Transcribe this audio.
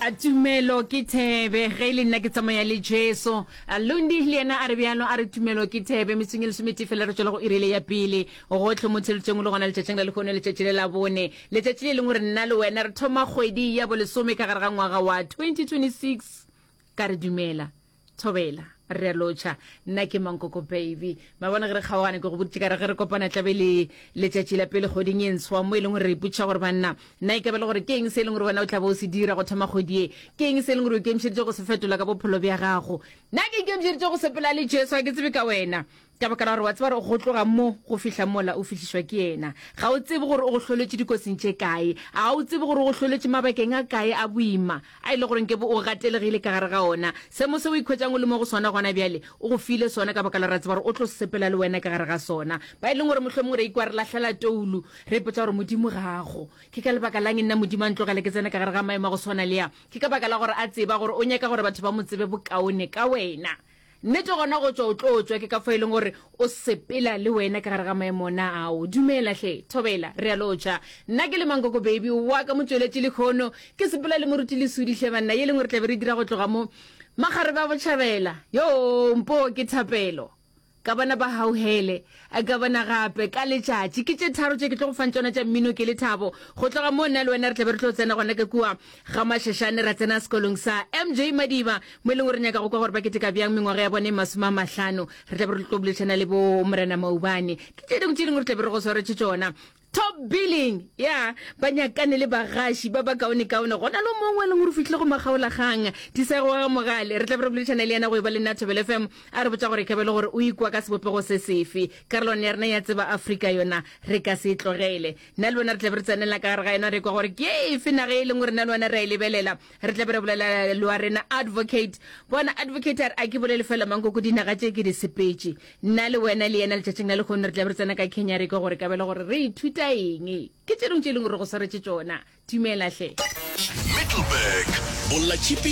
A tumelo ke thebe ge e le nna ke tsamaya le Jesu. A Lundi le yena a re bjalo a re tumelo ke thebe. Metsong e lesometee fela re tšwela go iri le ya pele. Gohle mo theletšeng o le gona letšatšing la lehono letšatši le la bone. Letšatši le lengwe re nna le wena re thoma kgwedi ya bolesome ka gare ga ngwaga wa 2026. Ka re dumela. Thobela, re a lotšha. Nna ke Mankoko Baby. Mabone ge re kgaogane ke go boditše ka re ge re kopana tlabe le letšatši la pele kgweding e ntshwa mo e leng gore re ipotšiša gore banna nna e ka be le gore ke eng se e leng gore wena o tla bo o se dira go thoma kgwedi ye. Ke eng se e leng gore o ikemišeditše go se fetola ka bophelo bja gago. Nna ke ikemišeditše go sepela le Jesu ga ke tsebe ka wena. Ka baka la gore wa tseba gore go tloga mo go fihla mola o fihlišwa ke yena. Ga o tsebe gore o go hloletše dikotsing tše kae. Ga o tsebe gore o go hloletše mabakeng a kae a boima a e le gore nkebe o gatelegile ka gare ga ona. Seemo se o ikhwetšang o le mo go sona gona bjale, o go file sona ka baka la gore a tseba gore o tlo sepela le wena ka gare ga sona. Ba e leng gore mohlomongwe re ikwa re lahlela toulo, re ipotša gore Modimo ga a go. Ke ka lebaka la'ng nna Modimo a ntlogela ke tsena ka gare ga maemo a go swana le a? Ke ka baka la gore a tseba gore o nyaka gore batho ba mo tsebe bokaone ka wena. Nnete gona go tšwa o tlo tšwa, ke ka fao e leng gore o sepela le wena ka gare ga maemo ona ao. Dumela hle, thobela, re a lotšha. Nna ke le Mankoko Baby wa ka motšweletši lehono, ke sepela le Moruti Lesudi hle banna, ye leng gore tla be re dira go tloga mo Makgarebe a Botšhabela. Yoo, mpoo ke thapelo. Ka bona ba hauhele, ka bona gape ka letšatši. Ke tše tharo tše ke tlo go fang tšona tša mmino ke lethabo. Go tloga moo nna le wena re tla be re tlo tsena gona ka kua ga Mashashane ra tsena sekolong sa MJ Madiba mo e leng gore re nyaka go kwa gore ba keteka bjang mengwaga ya bone e 50. Re tla be re tlo boledišana le bo Morena Maubane. Ke tše dingwe tše dingwe re tla be re go swaretše tšona. Top billing ya ba nyakane le bagaši ba bakaonekaone. Go na le mongwe e leng gore o fihlile go makgaolakgang, Disego wa ga Mogale. Re tla be re boledišana le yena go e ba le nna Thobela FM, a re botša gore e ka be e le gore o ikwa ka sebopego se sefe. Karolwana ya rena ya Tseba Afrika yona re ka se e tlogele. Nna le wena re tla be re tsenela ka gare ga yona re kwa gore ke efe naga e leng gore nna le wena re a e lebelela. Re tla be re bolela le wa rena Advocate. Bona Advocate a re a ke bolele fela mankoko dinaga tše ke di sepetše. Nna le wena le yena letšatšing la lehono re tla be re tsena ka Kenya re kwa gore ka be le gore re ithuta eng. Ke tše dingwe tše e leng gore re go swaretše tšona. Dumela hle. Middelburg, Bolla tšhipi.